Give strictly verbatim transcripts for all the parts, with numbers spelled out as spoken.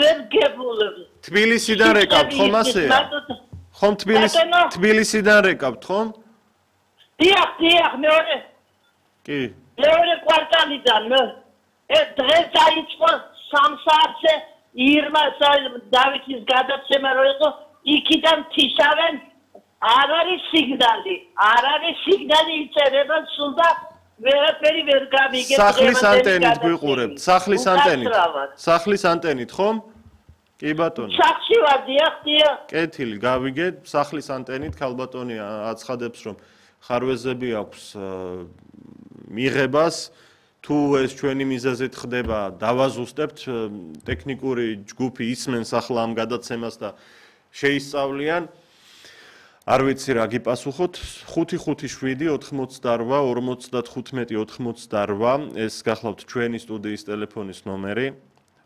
ვერ გებულებ. თბილისიდან რეკავთ ხომ ასეა? ხომ თბილისი თბილისიდან რეკავთ ხომ? დიახ, დიახ, მეორე. კი. მეორე კვარტალიდან. ეს დღეს დაიწყო სამ საათზე ირმა დავითის გადაცემა რო იყო, იქიდან თიშავენ არ არის სიგნალი. არ არის სიგნალი იწერება სულ და ვერაფერი ვერ გავიგებ. სახლის ანტენით გვიყურებთ, სახლის ანტენით. სახლის ანტენით ხომ? კი ბატონო. სახში ვარ, დიახ, დიახ. კეთილი, გავიგეთ, სახლის ანტენით ქალბატონი აცხადებს, რომ ხარვეზები აქვს მიღებას, თუ ეს ჩვენი მიზეზით ხდება, დავაზუსტებთ, ტექნიკური ჯგუფი ისმენს ახლა ამ გადაცემას და შეისწავლიან. არ ვიცი რა გიპასუხოთ, ხუთი ხუთი შვიდი ოთხმოცდარვა ორმოცდათხუთმეტი ოთხმოცდარვა, ეს გახლავთ ჩვენი სტუდიის ტელეფონის ნომერი.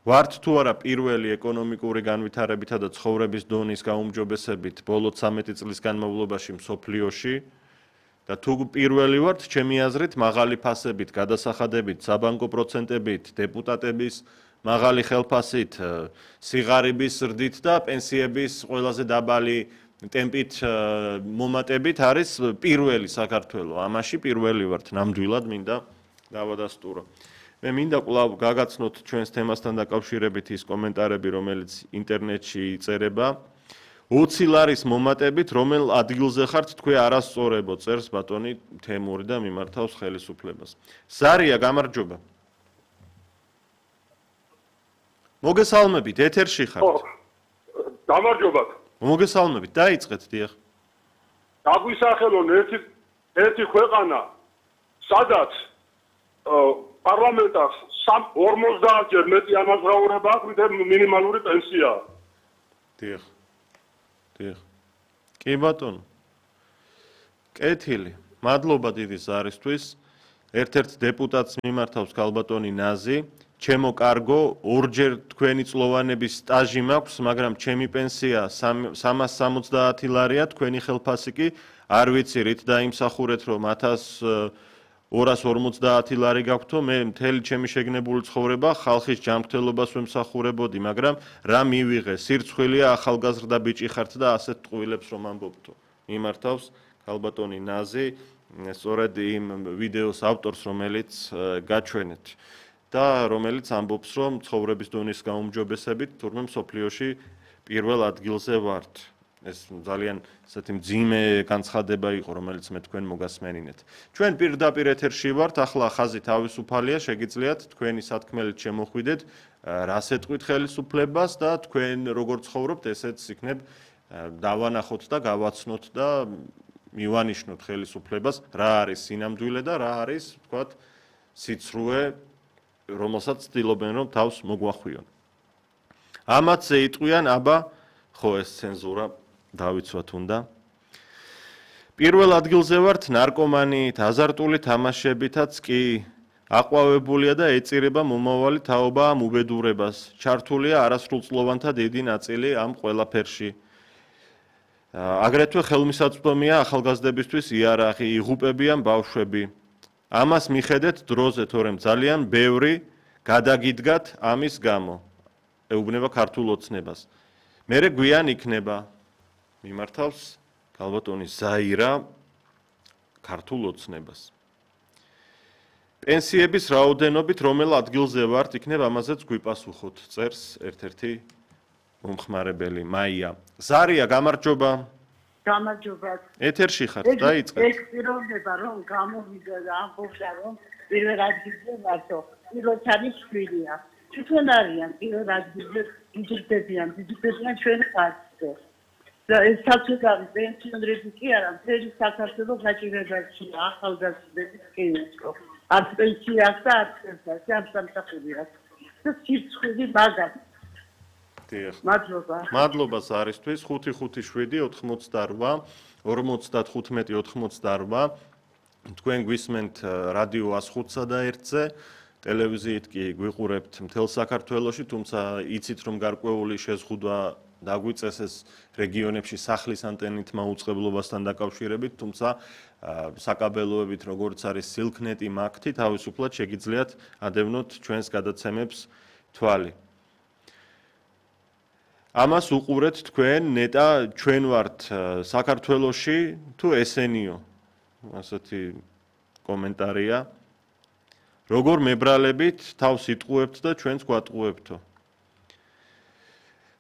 ვართ თუ არა პირველი ეკონომიკური განვითარებითა და ცხოვრების დონის გაუმჯობესებით ბოლო ცამეტი წლის განმავლობაში მსოფლიოში და თუ პირველი ვართ, ჩემი აზრით, მაღალი ფასებით, გადასახადებით, საბანკო პროცენტებით, დეპუტატების მაღალი ხელფასით, სიღარიბის ზრდით და პენსიების ყველაზე დაბალი ტემპით მომატებით არის პირველი საქართველო. ამაში პირველი ვართ, ნამდვილად მინდა დავადასტურო. მე მინდა კვლავ გაგაცნოთ ჩვენს თემასთან დაკავშირებით ის კომენტარები, რომელიც ინტერნეტში იწერება. ოცი ლარის მომატებით, რომელ ადგილზე ხართ თქვენ არასწორებო, წერს ბატონი თემური და მიმართავს ხელისუფლებას. ზარია, გამარჯობა. მოგესალმებით, ეთერში ხართ. გამარჯობათ. მოგესალმებით, დაიწყეთ, დიახ. დაგვისახელონ ერთი ერთი ქვეყანა, სადაც პარლამენტს ორმოცდაათ ჯერ მეტი ანაზღაურება აქვს, ვიდრე მინიმალური პენსიაა. დიახ. დიახ. კი ბატონო. კეთილი. მადლობა დიდი ზარისთვის. ერთ-ერთ დეპუტატს მიმართავს ქალბატონი ნაზი. ჩემო კარგო, ორჯერ თქვენი წლოვანების სტაჟი მაქვს, მაგრამ ჩემი პენსია სამას სამოცდაათი ლარია, თქვენი ხელფასი კი არ ვიცი რით დაიმსახურეთ, რომ ათას ორას ორმოცდაათი ლარი გაქვთო, მე მთელი ჩემი შეგნებული ცხოვრება ხალხის ჯანმრთელობას ვემსახურებოდი, მაგრამ რა მივიღე, სირცხვილია ახალგაზრდა ბიჭი ხართ და ასეთ ტყუილებს რომ ამბობთო. მიმართავს ქალბატონი ნაზი, სწორედ იმ ვიდეოს ავტორს, რომელიც გაჩვენეთ. და რომელიც ამბობს, რომ ცხოვრების დონის გაუმჯობესებით თურმე მსოფლიოში პირველ ადგილზე ვართ. ეს ძალიან ესეთი მძიმე განცხადება იყო, რომელიც მე თქვენ მოგასმენინეთ. ჩვენ პირდაპირ ეთერში ვართ, ახლა ხაზი თავისუფალია, შეგიძლიათ თქვენი სათქმელით შემოხვიდეთ, რას ეთყვით ხელისუფლებას და თქვენ როგორ ცხოვრობთ, ესეც იქნებ დავანახოთ და გავაცნოთ და მივანიშნოთ ხელისუფლებას, რა არის სინამდვილე და რა არის, თქვათ, სიცრუე, რომელსაც ცდილობენ რომ თავს მოგვახვიონ. ამათზე იტყვიან, აბა, ხო ეს ცენზურა დავიცვათ უნდა. პირველ ადგილზე ვართ ნარკომანიით, აზარტული თამაშებითაც კი აყვავებულია და ეწირება მომავალი თაობა ამ უბედურებას. ჩართულია არასრულწლოვანთა დიდი ნაწილი ამ ყველაფერში. აგრეთვე ხელმისაწვდომია ახალგაზრდებისთვის იარაღი, იღუპებიან ბავშვები. ამას მიხედეთ დროზე, თორემ ძალიან ბევრი გადაგიდგათ ამის გამო. ეუბნება ქართულ ოცნებას. მერე გვიან იქნება მიმართავს ქალბატონი ზაირა ქართულ ოცნებას. პენსიების რაოდენობით რომელ ადგილზე ვართ, იქნებ ამაზეც გვიპასუხოთ, წერს ერთ-ერთი მომხმარებელი მაია. ზარია, გამარჯობა. გამარჯობა. ეთერში ხართ, დაიწყეთ. ეს პიროვნება რომ გამოვიდა და ამბობდა რომ პირველ ადგილზე ვართო. პირველ არის შვილია. თვითონ არიან პირველ ადგილზე იძებდებიან, იძებდებიან ჩვენ ხარჯზე. და ეს საკუთარი პენსიონერები კი არა, მთელი საქართველოს გაჭირებაშია, ახალგაზრდების კინო. არც პენსია აქვს და არც პენსია, ამ სამსახურია. და სირცხვილი მაგას. მადლობა. მადლობა ზარისთვის. ხუთი ხუთი შვიდი ოთხმოცდარვა ორმოცდათხუთმეტი ოთხმოცდარვა. თქვენ გვისმენთ რადიო ას ხუთსა და ერთზე, ტელევიზიით კი გვიყურებთ მთელ საქართველოში, თუმცა იცით რომ გარკვეული შეზღუდვა დაგვიწეს ეს რეგიონებში სახლის ანტენით მაუწყებლობასთან დაკავშირებით, თუმცა საკაბელოებით როგორც არის სილქნეტი, მაგთი, თავისუფლად შეგიძლიათ ადევნოთ ჩვენს გადაცემებს თვალი. ამას უყურეთ თქვენ, ნეტა ჩვენ ვართ საქართველოში თუ ესენიო? ასეთი კომენტარია. როგორ მებრალებით თავს იტყუებთ და ჩვენც გვატყუებთო.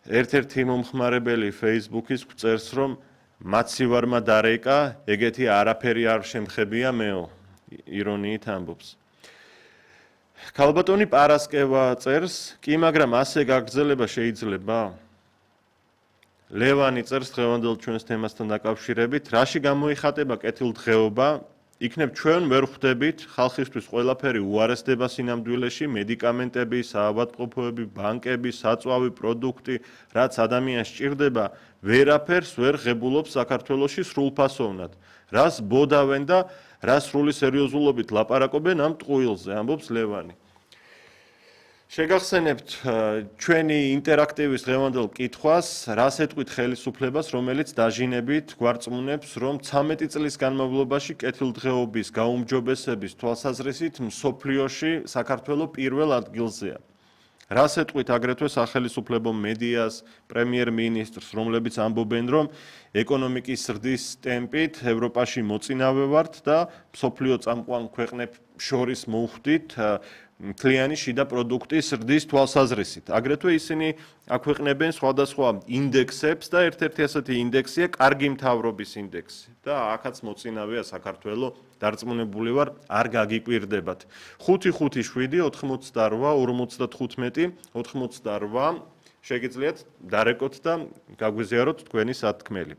ერთ-ერთი მომხმარებელი Facebook-ის გვწერს, რომ მაცივარმა დარეკა, ეგეთი არაფერი არ შემხებია მეო. ირონიით ამბობს. ქალბატონი პარასკევა წერს, კი, მაგრამ ასე გაგრძელება შეიძლება? ლევანი წერს დღევანდელ ჩვენს თემასთან დაკავშირებით, რაში გამოიხატება კეთილდღეობა? იქნებ ჩვენ ვერ ხვდებით ხალხისთვის ყველაფერი უარესდება სინამდვილეში, მედიკამენტები, საავადმყოფოები, ბანკები, საწვავი პროდუქტი, რაც ადამიანს სჭირდება, ვერაფერს ვერ ღებულობს საქართველოში სრულფასოვნად. რას ბოდავენ და რა სრული სერიოზულობით ლაპარაკობენ ამ ტყუილზე, ამბობს ლევანი. შეგახსენებთ ჩვენი ინტერაქტივის დღევანდელ კითხვას, რას ეტყვით ხელისუფლებას, რომელიც დაჟინებით გვარწმუნებს, რომ ცამეტი წლის განმავლობაში კეთილდღეობის გაუმჯობესების თვალსაზრისით მსოფლიოში საქართველო პირველ ადგილზეა. რას ეტყვით აგრეთვე სახელისუფლებო მედიას, პრემიერ-მინისტრს, რომლებიც ამბობენ, რომ ეკონომიკის ზრდის ტემპით ევროპაში მოწინავე ვართ და მსოფლიო წამყვან ქვეყნებს შორის მოვხვდით მთლიანი შიდა პროდუქტის ზრდის თვალსაზრისით. აგრეთვე ისინი აქვეყნებენ სხვადასხვა ინდექსებს და ერთ-ერთი ასეთი ინდექსია კარგი მთავრობის ინდექსი. და აქაც მოწინავეა საქართველო, დარწმუნებული ვარ, არ გაგიკვირდებათ. ხუთი ხუთი შვიდი ოთხმოცდარვა ორმოცდათხუთმეტი ოთხმოცდარვა შეგიძლიათ დარეკოთ და გაგვიზიაროთ თქვენი სათქმელი.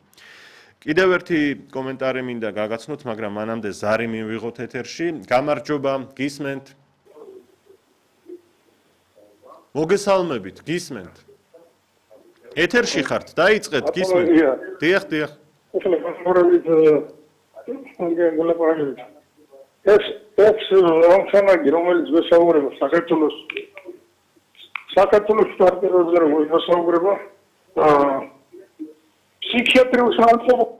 კიდევ ერთი კომენტარი მინდა გაგაცნოთ, მაგრამ მანამდე ზარი მივიღოთ ეთერში. გამარჯობა, გისმენთ. მოგესალმებით, გისმენთ. ეთერში ხართ, დაიწყეთ, გისმენთ. დიახ, დიახ. ეს ეს ამხანაგი, რომელიც ვესაუბრება საქართველოს საქართველოს სტარტერებზე რომ ვესაუბრება, აა ფსიქიატრიულ სამსახურში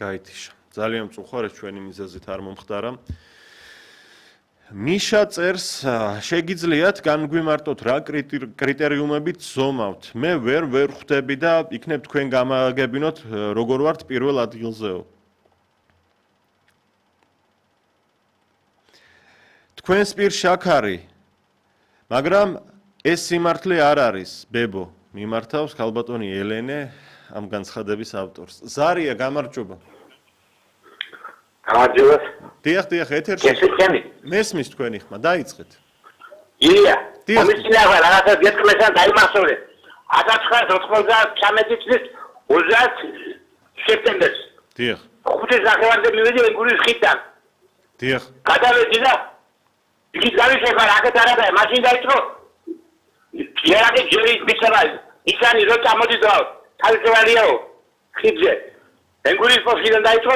გაითიშა. ძალიან მწუხარეს ჩვენი მიზეზით არ მომხდარა. მიშა წერს, შეგიძლიათ განგვიმარტოთ რა კრიტერიუმებით ზომავთ. მე ვერ ვერ ხვდები და იქნებ თქვენ გამაგებინოთ როგორ ვართ პირველ ადგილზეო. თქვენს პირ შაქარი, მაგრამ ეს სიმართლე არ არის, ბებო, მიმართავს ქალბატონი ელენე ამ განცხადების ავტორს. ზარია, გამარჯობა. გამარჯობა. დიახ, დიახ, ეთერში. გესმით? მესმის თქვენი ხმა, დაიწყეთ. ილია. დიახ. კომისინა რაღაცა გეთქმესა დაიმახსოვრე. ათას ცხრაას ოცდაათი წლის ოცდაათი სექტემბერს. დიახ. ხუთი ნახევარზე მივედი ენგურის ხიდთან. დიახ. გადავედი და იქით გავიშექა რაკეთ არაა, მაშინ დაიწყო. ჯერაკე ჯერი მისება. ისანი რო წამოდიდა, თავისებურიაო. ხიდზე. ენგურის პოსტიდან დაიწყო,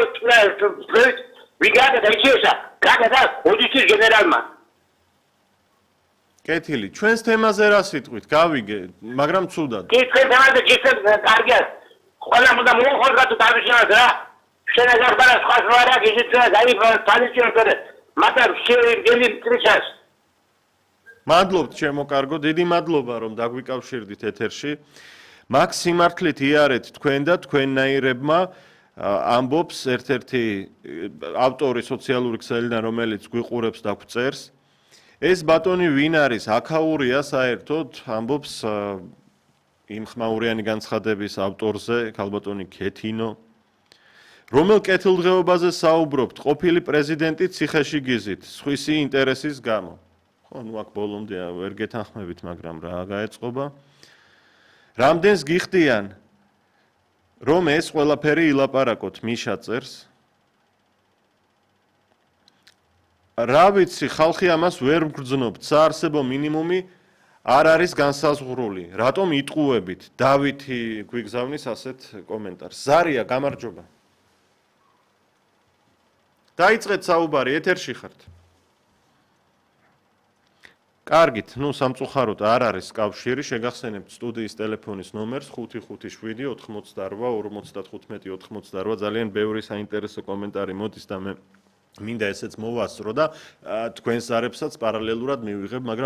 პრეზიდენტ ვიგადა დაიჭირა. გაგადა ოდიშის გენერალმა. კეთილი, ჩვენს თემაზე რა სიტყვით? გავიგე, მაგრამ ცუდად. კი, თქვენ თემაზე გიხსენთ კარგია. ყველა უნდა მოხალხოთ თავისინად რა. შენაგარბარა სხვა ზვარა გიჟიცა დაიბა თალიშიოთერე. მაგრამ შეიძლება წრიშას. მადლობთ ჩემო კარგო, დიდი მადლობა რომ დაგვიკავშირდით ეთერში. მაქს სიმართლით იარეთ თქვენ და თქვენნაირებმა ამბობს ერთ-ერთი ავტორი სოციალური ქსელიდან, რომელიც გვიყურებს და გვწერს. ეს ბატონი ვინ არის? აქაურია საერთოდ, ამბობს იმ ხმაურიანი განცხადების ავტორზე, ქალბატონი ქეთინო. რომელ კეთილდღეობაზე საუბრობთ? ყოფილი პრეზიდენტი ციხეში გიზით, სხვისი ინტერესის გამო. ხო, ნუ აქ ბოლომდე ვერ გეთანხმებით, მაგრამ რა გაეწყობა? რამდენს გიხდიან, რომ ეს ყველაფერი ილაპარაკოთ, მიშა წერს. რა ვიცი, ხალხი ამას ვერ მგრძნობთ, საარსებო მინიმუმი არ არის განსაზღვრული. რატომ იტყუებით? დავითი გვიგზავნის ასეთ კომენტარს. ზარია, გამარჯობა. დაიწყეთ საუბარი, ეთერში ხართ. კარგით, ნუ სამწუხაროდ არ არის კავშირი, შეგახსენებთ სტუდიის ტელეფონის ნომერს ხუთი ხუთი შვიდი ოთხმოცდარვა ორმოცდათხუთმეტი ოთხმოცდარვა. ძალიან ბევრი საინტერესო კომენტარი მოდის და მე მინდა ესეც მოვასწრო და თქვენს ზარებსაც პარალელურად მივიღებ, მაგრამ